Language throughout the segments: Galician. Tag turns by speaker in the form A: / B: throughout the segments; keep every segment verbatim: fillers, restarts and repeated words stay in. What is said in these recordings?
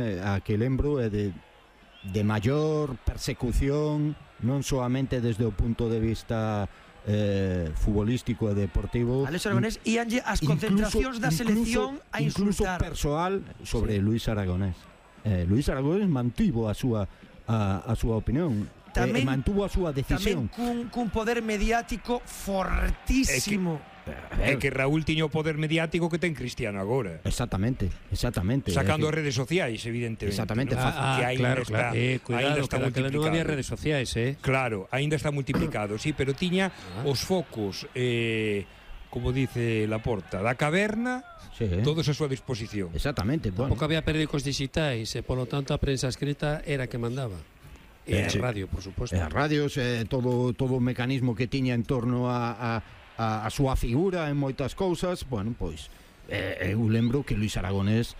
A: a que lembro é de, de maior persecución, non solamente desde o punto de vista eh, futbolístico e deportivo.
B: Alex Aragonés íanlle as concentracións da selección a insultar.
A: Incluso persoal sobre sí. Luis Aragonés. Eh, Luis Aragonés mantivo a súa a, a súa opinión. Tamén, eh, mantuvo a súa decisión.
B: Tamén cun, cun poder mediático fortísimo.
C: É que Raúl tiña o poder mediático que ten Cristiano agora.
A: Exactamente, exactamente.
C: Sacando
A: as
C: que... redes sociais, evidentemente.
A: Exactamente,
C: ¿no?
A: ah,
C: que
D: claro,
C: está,
D: claro. Eh, cuidado,
C: ainda está
D: que
C: multiplicado.
D: Non había redes sociais, eh.
C: Claro, ainda está multiplicado, sí, pero tiña ah. os focos, eh, como dice Laporta, da caverna, sí, eh. todos a súa disposición.
A: Exactamente. Bueno.
D: Tampouco había periódicos digitais, e polo tanto a prensa escrita era que mandaba. E a sí. radio, por suposto.
A: E a radios, eh, todo, todo o mecanismo que tiña en torno a... a A, a súa figura en moitas cousas, bueno, pois eh, eu lembro que Luis Aragonés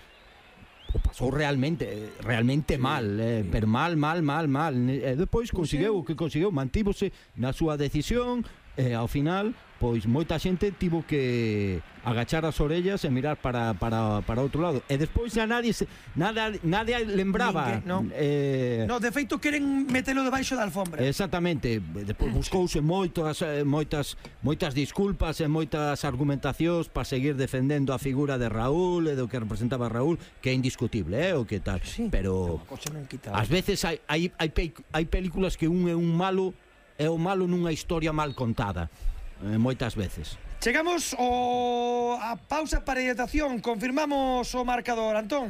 A: o pasou realmente realmente mal, eh, pero mal, mal, mal, mal. E depois conseguiu o que conseguiu, mantívose na súa decisión e ao final, pois moita xente tivo que agachar as orellas e mirar para, para, para outro lado. E despois xa nadie se, nada, nadie lembraba.
B: Ninguén, no.
A: Eh,
B: no, de feito queren metelo debaixo da alfombra.
A: Exactamente. Despois buscouse moitas, moitas, moitas disculpas e moitas argumentacións para seguir defendendo a figura de Raúl e do que representaba Raúl, que é indiscutible, eh, o que tal.
B: Sí,
A: pero ás veces hai, hai, hai, hai películas que un é un malo é o malo nunha historia mal contada. Eh, moitas veces.
B: Chegamos o a pausa para hidratación. Confirmamos o marcador, Antón.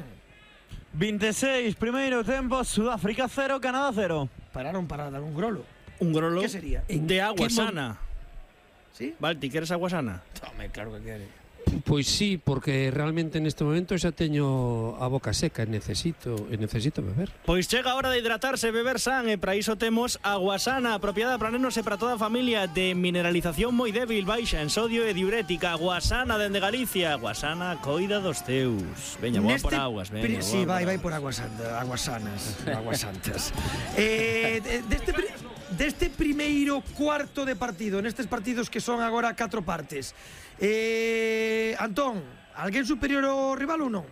E: vinte e seis, primeiro tempo, Sudáfrica cero, Canadá cero.
B: Pararon para dar un grolo.
E: Un grolo.
B: ¿Qué sería?
E: De agua sana.
B: ¿Sí?
E: Balti, queres agua sana?
B: Tome, claro que quere.
D: Pois sí, porque realmente neste momento xa teño a boca seca e necesito, e necesito beber.
E: Pois chega a hora de hidratarse e beber san, e para iso temos Aguasana, apropiada para nenos e para toda a familia, de mineralización moi débil, baixa en sodio e diurética. Aguasana dende Galicia. Aguasana coida dos teus. Veña, boa por aguas, veña.
B: Sí, vai, vai por aguas aguasanas, aguas santas. eh, deste deste primeiro cuarto de partido, nestes partidos que son agora catro partes. Eh, Antón, alguén superior ao rival ou non?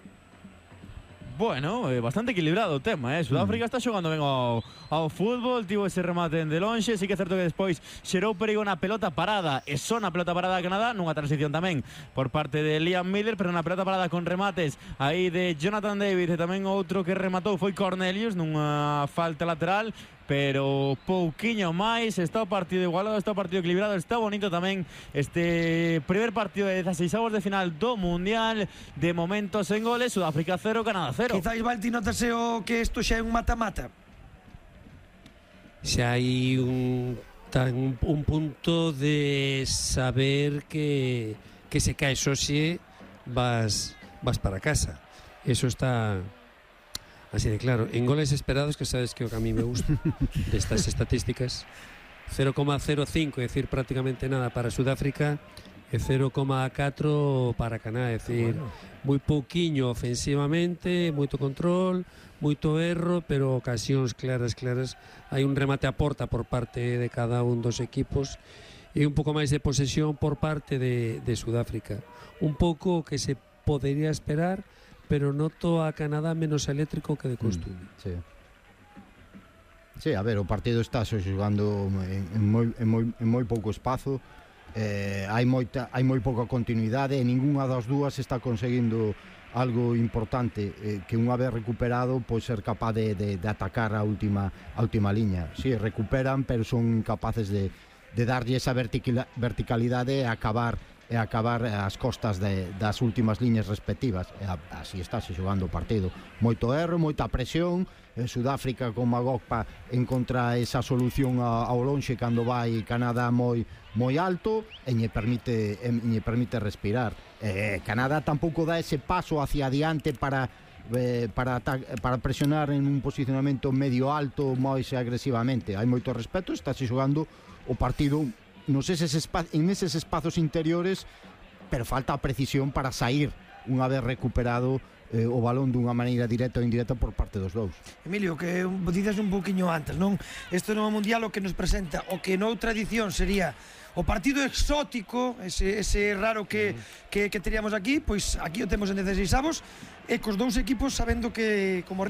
E: Bueno, é bastante equilibrado o tema, eh? Sudáfrica mm. está xogando ben ao, ao fútbol, tivo ese remate de lonxe, sí que é certo que despois xerou perigo na pelota parada, e só na pelota parada de Canadá, nunha transición tamén por parte de Liam Miller, pero na pelota parada con remates aí de Jonathan David, e tamén outro que rematou foi Cornelius nunha falta lateral, pero pouquiño máis. Está o partido igualado, está o partido equilibrado, está bonito tamén este primer partido de dezasseisavos de final do Mundial. De momento sen goles, Sudáfrica cero, Canadá cero.
B: Quizás, Balti, notase o que isto xa é un mata-mata.
D: Xa hai un, tan, un punto de saber que, que se cae Xoxe vas, vas para casa. Eso está... así de claro. En goles esperados, que sabes que o que a mí me gusta destas estatísticas, cero coma cero cinco, é dicir, prácticamente nada para Sudáfrica, e cero coma catro para Canadá, é dicir, bueno, moi pouquiño ofensivamente, moito control, moito erro, pero ocasións claras, claras. Hai un remate a porta por parte de cada un dos equipos e un pouco máis de posesión por parte de, de Sudáfrica. Un pouco que se podería esperar, pero noto a Canadá menos eléctrico que de costume.
A: Mm, sí. Sí, a ver, o partido está xogando en, en, moi, en, moi, en moi pouco espazo, eh, hai moita hai moi pouca continuidade e ningunha das dúas está conseguindo algo importante, eh, que unha vez recuperado pois ser capaz de, de, de atacar a última a última liña. Sí, recuperan, pero son incapaces de, de darlle esa verticalidade e acabar e acabar as costas de, das últimas liñas respectivas. E así está se xogando o partido. Moito erro, moita presión. En Sudáfrica con Magog pa encontra esa solución ao lonxe cando vai Canadá moi moi alto e lle permite e lle permite respirar. Eh, Canadá tampouco dá ese paso hacia adiante para eh, para para presionar en un posicionamento medio alto máis agresivamente. Hai moito respeto, está se xogando o partido nos eses espa- en eses espazos interiores, pero falta a precisión para sair unha vez recuperado eh, o balón dunha maneira directa ou indirecta por parte dos dous.
B: Emilio, que dices un poquinho antes, non? Isto non é mundial o que nos presenta, o que noutra edición sería o partido exótico, ese, ese raro que, que, que teríamos aquí, pois aquí o temos en dezasseis avos, e cos dous equipos sabendo que como